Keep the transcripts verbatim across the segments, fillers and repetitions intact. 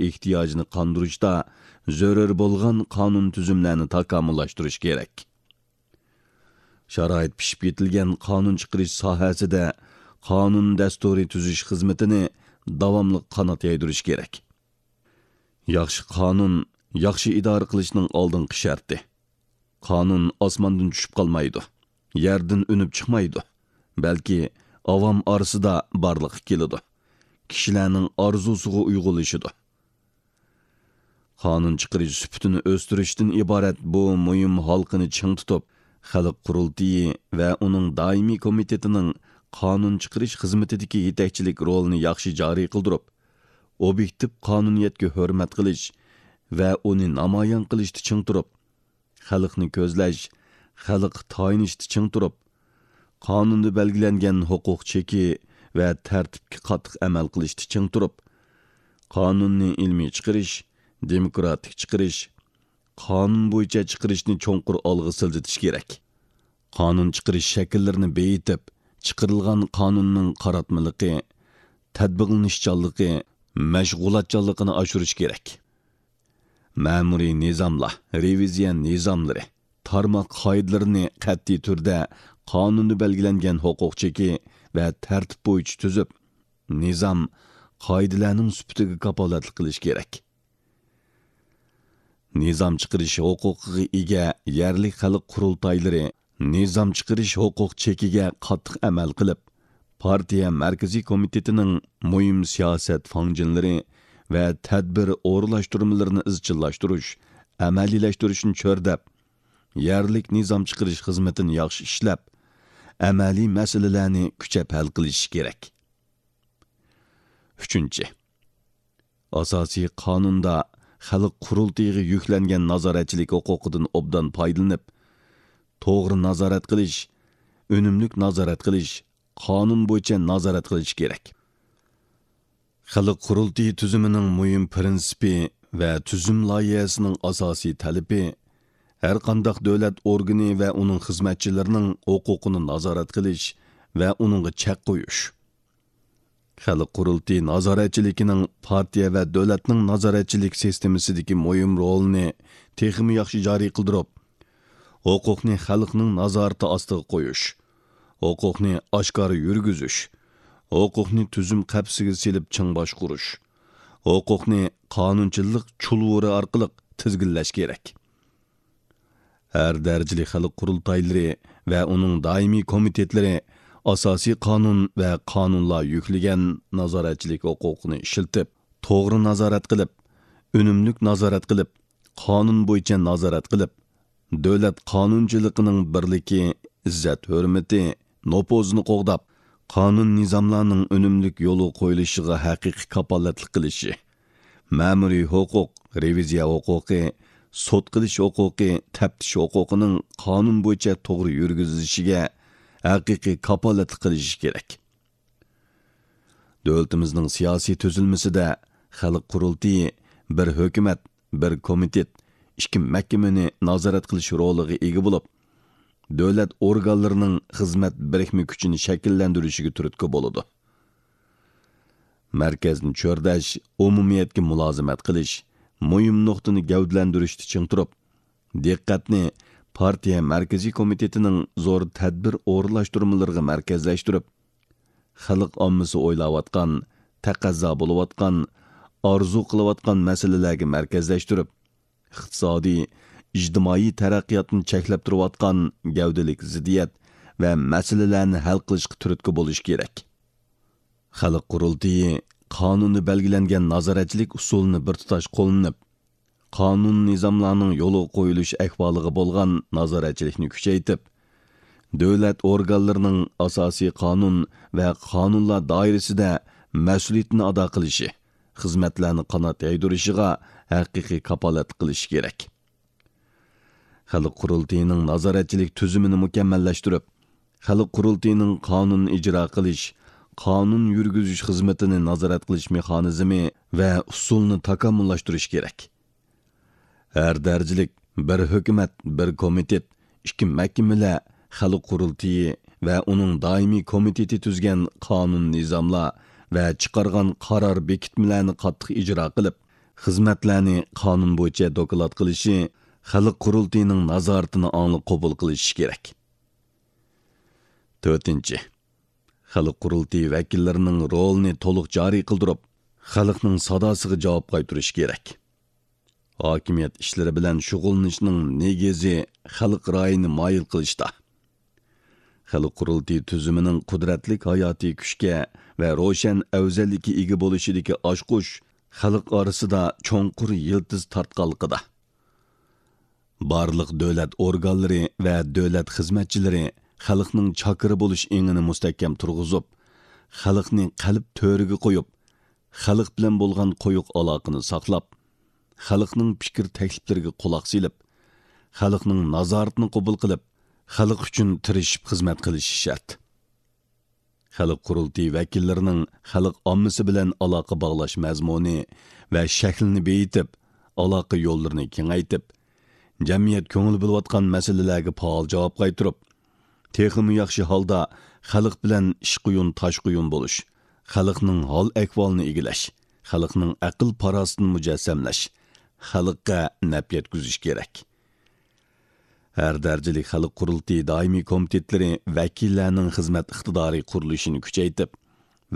ئېھتىياجىنى قاندۇرۇشتا زۆرۈر بولغان قانۇن تۈزۈملەرنى تاكامۇللاشتۇرۇش كېرەك. شارائىت پىشىپ يېتىلگەن قانۇن چىقىرىش ساھەسىدە قانۇن دەستۇرى تۈزۈش خىزمىتىنى داۋاملىق قانات يايدۇرۇش كېرەك. ياخشى قانۇن ياخشى ئىدارە قىلىشنىڭ ئالدىنقى شەرتى. قانۇن ئاسماندىن چۈشۈپ قالمايدۇ، يەردىن ئۈنۈپ چىقمايدۇ، بەلكى ئاۋام ئارىسىدا بارلىققا كېلىدۇ، كىشىلەرنىڭ ئارزۇسىغا ئۇيغۇنلىشىدۇ. قانۇن چىقىرىش سۈپىتىنى ئۆستۈرۈشتىن ئىبارەت بۇ مۇھىم ھالقىنى چىڭ تۇتۇپ، خەلق قۇرۇلتىيى ۋە ئۇنىڭ دائىمىي كومىتېتىنىڭ قانۇن چىقىرىش خىزمىتىدىكى يېتەكچىلىك رولىنى ياخشى جارى قىلدۇرۇپ، ئوبيېكتىپ قانۇنىيەتكە ھۆرمەت قىلىش ۋە ئۇنى نامايان قىلىشتا چىڭ تۇرۇپ، خەلقنى كۆزلەش، خەلققە تايىنىشتا چىڭ تۇرۇپ، قانۇندا بەلگىلەنگەن ھوقۇق چېكى ۋە تەرتىپكە قاتتىق ئەمەل قىلىشتا چىڭ تۇرۇپ، قانۇننى ئىلمىي چىقىرىش، دېموكراتىك چىقىرىش، قانۇن بويىچە چىقىرىشنى چوڭقۇر ئالغا سىلجىتىش كېرەك. قانۇن چىقىرىش شەكىللىرىنى بېيىتىپ، چىقىرىلغان قانۇننىڭ قاراتمىلىقى، تەتبىقلىنىشچانلىقى، مەشغۇلاتچانلىقىنى ئاشۇرۇش كېرەك. مەمۇرىي نىزاملار، رېۋىزىيە نىزاملىرى، تارماق قائىدىلىرىنى قەتئىي تۈردە قانۇندا بەلگىلەنگەن ھوقۇق چېكى ۋە تەرتىپ بويىچە تۈزۈپ، نىزام، قائىدىلەرنىڭ سۈپىتىگە كاپالەتلىك قىلىش كېرەك. نىزام چىقىرىش ھوقۇقىغا ئىگە يەرلىك خەلق قۇرۇلتايلىرى نىزام چىقىرىش ھوقۇق چېكىگە قاتتىق ئەمەل قىلىپ، پارتىيە مەركىزىي كومىتېتىنىڭ مۇھىم سىياسەت فاڭجېنلىرى ۋە تەدبىر ئورۇنلاشتۇرمىلىرىنى ئىزچىللاشتۇرۇش، ئەمەلىيلەشتۈرۈشنى چۆرىدەپ، يەرلىك نىزام چىقىرىش خىزمىتىنى ياخشى ئىشلەپ، ئەمەلىي مەسىلىلەرنى كۈچەپ ھەل قىلىشى كېرەك. ئۈچىنچى، ئاساسىي قانۇندا خەلق قۇرۇلتىيىغا يۈكلەنگەن نازارەتچىلىك ھوقۇقىدىن ئوبدان پايدىلىنىپ، توغرا نازارەت قىلىش، ئۈنۈملۈك نازارەت قىلىش، قانۇن بويىچە نازارەت قىلىش كېرەك. خەلق قۇرۇلتىيى تۈزۈمىنىڭ مۇھىم پىرىنسىپى ۋە تۈزۈم لايىھەسىنىڭ ئاساسىي تەلىپى، ھەرقانداق دۆلەت ئورگىنى ۋە ئۇنىڭ خىزمەتچىلىرىنىڭ ھوقۇقىنى نازارەت قىلىش ۋە ئۇنىڭغا چەك قويۇش. خەلق قۇرۇلتىيى نازارەتچىلىكىنىڭ پارتىيە ۋە دۆلەتنىڭ نازارەتچىلىك سىستېمىسىدىكى مۇھىم رولىنى تېخىمۇ ياخشى جارى قىلدۇرۇپ، ھوقۇقنى خەلقنىڭ نازارىتى ئاستىغا قويۇش، ھوقۇقنى ئاشكارا يۈرگۈزۈش، ھوقۇقنى تۈزۈم قەپىسىگە سېلىپ چىڭ باشقۇرۇش، ھوقۇقنى قانۇنچىلىق چۇلۋۇرى ئارقىلىق تىزگىنلەش كېرەك. ھەر دەرىجىلىك خەلق قۇرۇلتايلىرى ۋە ئۇنىڭ دائىمىي كومىتېتلىرى ئاساسىي قانۇن ۋە قانۇنلار يۈكلىگەن نازارەتچىلىك ھوقۇقىنى ئىشلىتىپ، توغرا نازارەت قىلىپ، ئۈنۈملۈك نازارەت قىلىپ، قانۇن بويىچە نازارەت قىلىپ، دۆلەت قانۇنچىلىقىنىڭ بىرلىكى، ئىززەت-ھۆرمىتى، نوپۇزىنى قوغداپ، قانۇن-نىزاملارنىڭ ئۈنۈملۈك يولغا قويۇلۇشىغا ھەقىقىي كاپالەتلىك قىلىشى، مەمۇرىي ھوقۇق، رېۋىزىيە ھوقۇقى، سوت قىلىش ھوقۇقى، تەپتىش ھوقۇقىنىڭ قانۇن بويىچە توغرا يۈرگۈزۈلۈشىگە ھەقىقىي كاپالەتلىك قىلىشى كېرەك. دۆلىتىمىزنىڭ سىياسىي تۈزۈلمىسىدە خەلق قۇرۇلتىيى بىر ھۆكۈمەت، بىر كومىتېت، ئىككى مەھكىمىنى نازارەت قىلىش رولىغا ئىگە بولۇپ، دۆلەت ئورگانلىرىنىڭ خىزمەت بىرىكمە كۈچىنى شەكىللەندۈرۈشىگە تۈرتكە بولىدۇ. مەركەزنى چۆرىدەش، ئومۇمىيەتكە مۇلازىمەت قىلىش، مۇھىم نۇقتىنى گەۋدىلەندۈرۈشتە چىڭ تۇرۇپ، دىققەتنى پارتىيە مەركىزىي كومىتېتىنىڭ زور تەدبىر ئورۇنلاشتۇرمىلىرىغا مەركەزلەشتۈرۈپ، خەلق ئاممىسى ئويلاۋاتقان، تەقەززا بولۇۋاتقان، ئارزۇ قىلىۋاتقان مەسىلىلەرگە مەركەزلەشتۈرۈپ، ئىقتىسادىي، ئىجتىمائىي تەرەققىياتنى چەكلەپ تۇرۇۋاتقان گەۋدىلىك زىددىيەت ۋە مەسىلىلەرنى ھەل قىلىشقا تۈرتكە بولۇش كېرەك. خەلق قۇرۇلتىيى قانۇندا بەلگىلەنگەن نازارەتچىلىك ئۇسۇلىنى بىر تۇتاش قوللىنىپ، قانۇن-نىزاملارنىڭ يولغا قويۇلۇش ئەھۋالىغا بولغان نازارەتچىلىكنى كۈچەيتىپ، دۆلەت ئورگانلىرىنىڭ ئاساسىي قانۇن ۋە قانۇنلار دائىرىسىدە مەسئۇلىيىتىنى ئادا قىلىشى، خىزمەتلەرنى قانات يايدۇرۇشىغا ھەقىقىي كاپالەتلىك قىلىشى كېرەك. خەلق قۇرۇلتىيىنىڭ نازارەتچىلىك تۈزۈمىنى مۇكەممەللەشتۈرۈپ، خەلق قۇرۇلتىيىنىڭ قانۇن ئىجرا قىلىش، قانۇن يۈرگۈزۈش خىزمىتىنى نازارەت قىلىش مېخانىزمى ۋە ئۇسۇلىنى تاكامۇللاشتۇرۇش كېرەك. ھەر دەرىجىلىك بىر ھۆكۈمەت، بىر كومىتېت، ئىككى مەھكىمىلەر، خەلق قۇرۇلتىيى ۋە ئۇنىڭ دائىمىي كومىتېتى تۈزگەن قانۇن-نىزاملار ۋە چىقارغان قارار بېكىتمىلەرنى قاتتىق ئىجرا قىلىپ، خىزمەتلەرنى قانۇن بويىچە دوكلات قىلىشى، خەلق قۇرۇلتىيىنىڭ نازارىتىنى ئاڭلىق قوبۇل قىلىشى كېرەك. تۆتىنچى، خەلق قۇرۇلتىيى ۋەكىللىرىنىڭ رولىنى تولۇق جارى قىلدۇرۇپ، خەلقنىڭ ساداسىغا جاۋاب قايتۇرۇش كېرەك. ھاكىمىيەت ئىشلىرى بىلەن شۇغۇللىنىشنىڭ نېگىزى خەلق رايىنى مايىل قىلىشتا. خەلق قۇرۇلتىيى تۈزۈمىنىڭ قۇدرەتلىك ھاياتىي كۈچكە ۋە روشەن ئەۋزەللىككە ئىگە بولۇشىدىكى ئاچقۇچ خەلق ئارىسىدا چوڭقۇر يىلتىز تارتقانلىقىدا. بارلىق دۆلەت ئورگانلىرى ۋە دۆلەت خىزمەتچىلىرى خەلقنىڭ چاكىرى بولۇش ئېڭىنى مۇستەھكەم تۇرغۇزۇپ، خەلقنى قەلب تۆرىگە قويۇپ، خەلق بىلەن بولغان قويۇق ئالاقىنى ساقلاپ، خەلقنىڭ پىكىر تەكلىپلىرىگە قۇلاق سېلىپ، خەلقنىڭ نازارىتىنى قوبۇل قىلىپ، خەلق ئۈچۈن تىرىشىپ خىزمەت قىلىشى شەرت. خەلق قۇرۇلتىيى ۋەكىللىرىنىڭ خەلق ئاممىسى بىلەن ئالاقە باغلاش مەزمۇنى ۋە شەكلىنى بېيىتىپ، ئالاقە يوللىرىنى كېڭەيتىپ، جەمئىيەت كۆڭۈل بۆلۈۋاتقان مەسىلىلەرگە پائال جاۋاب قايتۇرۇپ، تېخىمۇ ياخشى ھالدا خەلق بىلەن ئىش قۇيۇن، تاش قۇيۇن بولۇش، خەلقنىڭ ھال-ئەھۋالىنى ئىگىلەش، خەلقنىڭ ئەقىل-پاراسىتىنى مۇجەسسەملەش، خەلققە نەپ يەتكۈزۈش كېرەك. ھەر دەرىجىلىك خەلق قۇرۇلتىيى دائىمىي كومىتېتلىرى ۋەكىللەرنىڭ خىزمەت ئىقتىدارى قۇرۇلۇشىنى كۈچەيتىپ،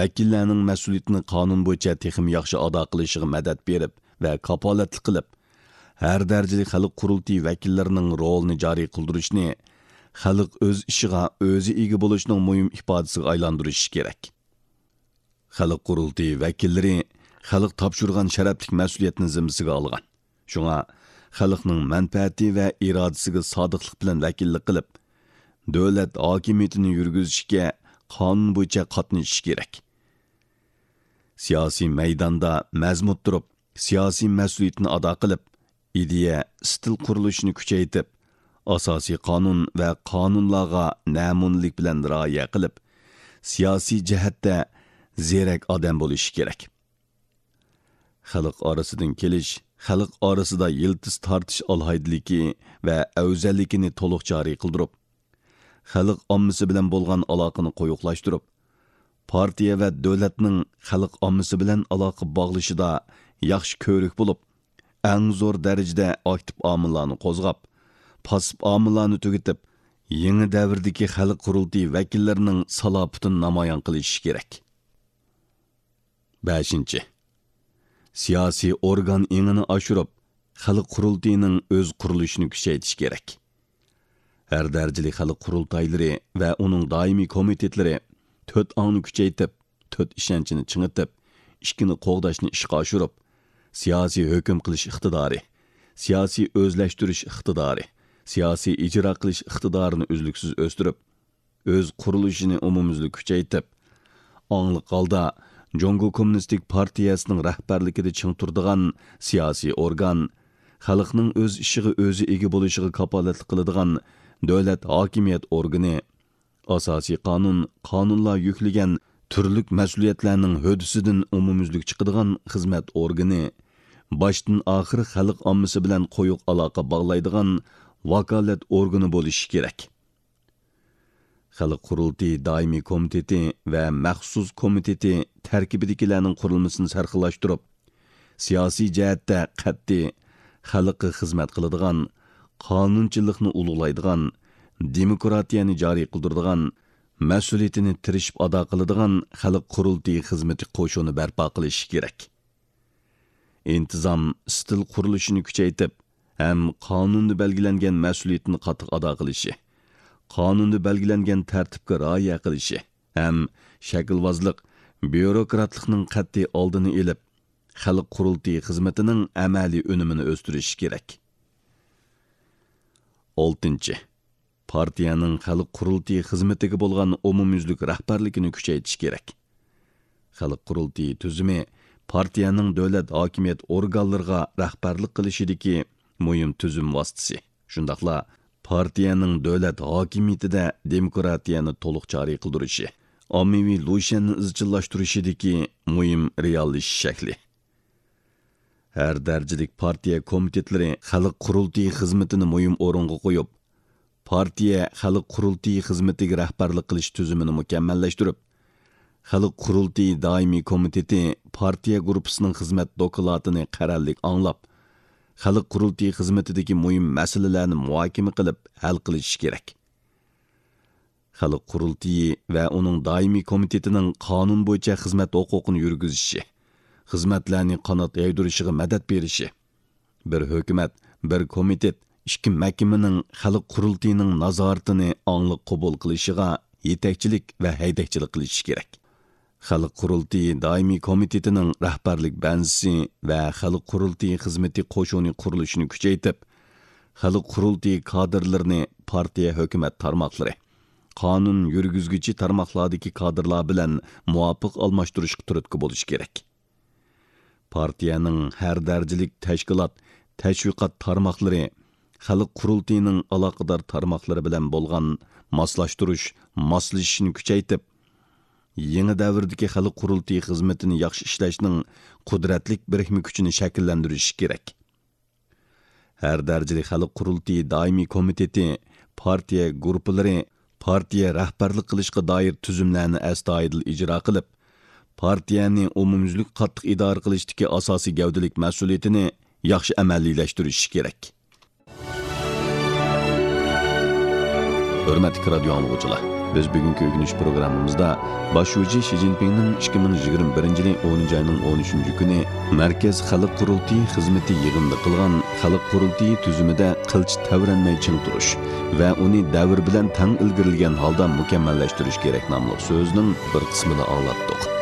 ۋەكىللەرنىڭ مەسئۇلىيىتىنى قانۇن بويىچە تېخىمۇ ياخشى ئادا قىلىشىغا مەدەت بېرىپ ۋە كاپالەتلىك قىلىپ، ھەر دەرىجىلىك خەلق قۇرۇلتىيى ۋەكىللىرىنىڭ رولىنى جارى قىلدۇرۇشنى خەلق ئۆز ئىشىغا ئۆزى ئىگە بولۇشنىڭ مۇھىم ئىپادىسىگە ئايلاندۇرۇشى كېرەك. خەلق قۇرۇلتىيى ۋەكىللىرى خەلق تاپشۇرغان شەرەپلىك مەسئۇلىيەتنى زىممىسىگە ئالغان. شۇڭا خەلقنىڭ مەنپەئەتى ۋە ئىرادىسىگە سادىقلىق بىلەن ۋەكىللىك قىلىپ، دۆلەت ھاكىمىيىتىنى يۈرگۈزۈشكە قانۇن بويىچە قاتنىشىشى كېرەك. سىياسىي مەيداندا مەزمۇت تۇرۇپ، سىياسىي مەسئۇلىيىتىنى ئادا قىلىپ، ئىدىيە، ئىستىل قۇرۇلۇشىنى كۈچەيتىپ، ئاساسىي قانۇن ۋە قانۇنلارغا نەمۇنىلىك بىلەن رىئايە قىلىپ، سىياسىي جەھەتتە زېرەك ئادەم بولۇشى كېرەك. خەلق ئارىسىدىن كېلىش، خەلق ئارىسىدا يىلتىز تارتىش ئالاھىدىلىكى ۋە ئەۋزەللىكىنى تولۇق جارى قىلدۇرۇپ، خەلق ئاممىسى بىلەن بولغان ئالاقىنى قويۇقلاشتۇرۇپ، پارتىيە ۋە دۆلەتنىڭ خەلق ئاممىسى بىلەن ئالاقە باغلىشىدا ياخشى كۆۋرۈك بولۇپ، ئەڭ زور دەرىجىدە ئاكتىپ ئامىللارنى قوزغاپ، پاسسىپ ئامىللارنى تۈگىتىپ، يېڭى دەۋردىكى خەلق قۇرۇلتىيى ۋەكىللىرىنىڭ سالاپىتىنى نامايان قىلىشى كېرەك. بەشىنچى، سىياسىي ئورگان ئېڭىنى ئاشۇرۇپ، خەلق قۇرۇلتىيىنىڭ ئۆز قۇرۇلۇشىنى كۈچەيتىش كېرەك. ھەر دەرىجىلىك خەلق قۇرۇلتايلىرى ۋە ئۇنىڭ دائىمىي كومىتېتلىرى تۆت ئاڭنى كۈچەيتىپ، تۆت ئىشەنچنى چىڭىتىپ، ئىككىنى قوغداشنى ئىشقا ئاشۇرۇپ، سىياسىي ھۆكۈم قىلىش ئىقتىدارى، سىياسىي ئۆزلەشتۈرۈش ئىقتىدارى، سىياسىي ئىجرا قىلىش ئىقتىدارىنى ئۈزلۈكسىز ئۆستۈرۈپ، ئۆز قۇرۇلۇشىنى ئومۇميۈزلۈك كۈچەيتىپ، ئاڭلىق ھالدا جۇڭگو كوممۇنىستىك پارتىيەسىنىڭ رەھبەرلىكىدە چىڭ تۇرىدىغان سىياسىي ئورگان، خەلقنىڭ ئۆز ئىشىغا ئۆزى ئىگە بولۇشىغا كاپالەتلىك قىلىدىغان دۆلەت ھاكىمىيەت ئورگىنى، ئاساسىي قانۇن، قانۇنلار يۈكلىگەن تۈرلۈك مەسئۇلىيەتلەرنىڭ ھۆددىسىدىن ئومۇميۈزلۈك چىقىدىغان خىزمەت ئورگىنى، باشتىن ئاخىر خەلق ئاممىسى بىلەن قويۇق ئالاقە باغلايدىغان ۋاكالەت ئورگىنى بولۇشى كېرەك. خەلق قۇرۇلتىيى دائىمىي كومىتېتى ۋە مەخسۇس كومىتېتى تەركىبىدىكىلەرنىڭ قۇرۇلمىسىنى سەرخىللاشتۇرۇپ، سىياسىي جەھەتتە قەتئىي، خەلققە خىزمەت قىلىدىغان، قانۇنچىلىقنى ئۇلۇغلايدىغان، دېموكراتىيەنى جارى قىلدۇرىدىغان، مەسئۇلىيىتىنى تىرىشىپ ئادا قىلىدىغان خەلق قۇرۇلتىيى خىزمىتى قوشۇنى بەرپا قىلىشى كېرەك. ئىنتىزام، ئىستىل قۇرۇلۇشىنى كۈچەيتىپ، ھەم قانۇندا بەلگىلەنگەن مەسئۇلىيىتىنى قاتتىق ئادا قىلىشى، قانۇندا بەلگىلەنگەن تەرتىپكە رىئايە قىلىشى ھەم شەكىلۋازلىق، بيۇروكراتلىقنىڭ قەتئىي ئالدىنى ئېلىپ، خەلق قۇرۇلتىيى خىزمىتىنىڭ ئەمەلىي ئۈنۈمىنى ئۆستۈرۈشى كېرەك. ئالتىنچى، پارتىيەنىڭ خەلق قۇرۇلتىيى خىزمىتىگە بولغان ئومۇميۈزلۈك رەھبەرلىكىنى كۈچەيتىش كېرەك. خەلق قۇرۇلتىيى تۈزۈمى پارتىيەنىڭ دۆلەت ھاكىمىيەت ئورگانلىرىغا رەھبەرلىك قىلىشىدىكى مۇھىم تۈزۈم ۋاسىتىسى. شۇنداقلا پارتىيەنىڭ دۆلەت ھاكىمىيىتىدە دېموكراتىيەنى تولۇق جارى قىلدۇرۇشى، ئاممىۋى لۇشيەننى ئىزچىللاشتۇرۇشىدىكى مۇھىم رېئاللىشىش شەكلى. ھەر دەرىجىلىك پارتىيە كومىتېتلىرى خەلق قۇرۇلتىيى خىزمىتىنى مۇھىم ئورۇنغا قويۇپ، پارتىيە خەلق قۇرۇلتىيى خىزمىتىگە رەھبەرلىك قىلىش تۈزۈمىنى مۇكەممەللەشتۈرۈپ، خەلق قۇرۇلتىيى دائىمىي كومىتېتى پارتىيە گۇرۇپپىسىنىڭ خىزمەت دوكلاتىنى قەرەللىك ئاڭلاپ، خەلق قۇرۇلتىيى خىزمىتىدىكى مۇھىم مەسىلىلەرنى مۇھاكىمە قىلىپ ھەل قىلىشى كېرەك. خەلق قۇرۇلتىيى ۋە ئۇنىڭ دائىمىي كومىتېتىنىڭ قانۇن بويىچە خىزمەت ھوقۇقىنى يۈرگۈزۈشى، خىزمەتلەرنى قانات يايدۇرۇشىغا مەدەت بېرىشى، بىر ھۆكۈمەت، بىر كومىتېت، ئىككى مەھكىمىنىڭ خەلق قۇرۇلتىيىنىڭ نازارىتىنى ئاڭلىق قوبۇل قىلىشىغا يېتەكچىلىك ۋە ھەيدەكچىلىك قىلىشى كېرەك. خەلق قۇرۇلتىيى دائىمىي كومىتېتىنىڭ رەھبەرلىك بەنزىسى ۋە خەلق قۇرۇلتىيى خىزمىتى قوشۇنى قۇرۇلۇشىنى كۈچەيتىپ، خەلق قۇرۇلتىيى كادىرلىرىنى پارتىيە ھۆكۈمەت تارماقلىرى، قانۇن يۈرگۈزگۈچى تارماقلاردىكى كادىرلار بىلەن مۇۋاپىق ئالماشتۇرۇشقا تۈرتكە بولۇشى كېرەك. پارتىيەنىڭ ھەر دەرىجىلىك تەشكىلات، تەشۋىقات تارماقلىرى، خەلق قۇرۇلتىيىنىڭ ئالاقىدار تارماقلىرى بىلەن بولغان ماسلاشتۇرۇش، ماسلىشىشنى كۈچەيتىپ، يېڭى دەۋردىكى خەلق قۇرۇلتىيى خىزمىتىنى ياخشى ئىشلەشنىڭ قۇدرەتلىك بىرىكمە كۈچىنى شەكىللەندۈرۈشى كېرەك. ھەر دەرىجىلىك خەلق قۇرۇلتىيى دائىمىي كومىتېتى پارتىيە گۇرۇپپىلىرى پارتىيە رەھبەرلىك قىلىشقا دائىر تۈزۈملەرنى ئەستايىدىل ئىجرا قىلىپ، پارتىيەنى ئومۇميۈزلۈك قاتتىق ئىدارە قىلىشتىكى ئاساسىي گەۋدىلىك مەسئۇلىيىتىنى ياخشى ئەمەلىيلەشتۈرۈشى كېرەك. ھۆرمەتلىك رادىيو ئاڭلىغۇچىلار، بىز بۈگۈنكى ئۆگىنىش پروگراممىمىزدا باش شۇجى شى جىنپىڭنىڭ ئىككى مىڭ يىگىرمە بىرىنچى يىلى ئونىنچى ئاينىڭ ئون ئۈچىنچى كۈنى مەركەز خەلق قۇرۇلتىيى خىزمىتى يىغىنىدا قىلغان خەلق قۇرۇلتىيى تۈزۈمىدە قىلچە تەۋرەنمەي چىڭ تۇرۇش ۋە ئۇنى دەۋر بىلەن تەڭ ئىلگىرىلىگەن ھالدا مۇكەممەللەشتۈرۈش كېرەك ناملىق سۆزىنىڭ بىر قىسمىنى ئاڭلاتتۇق.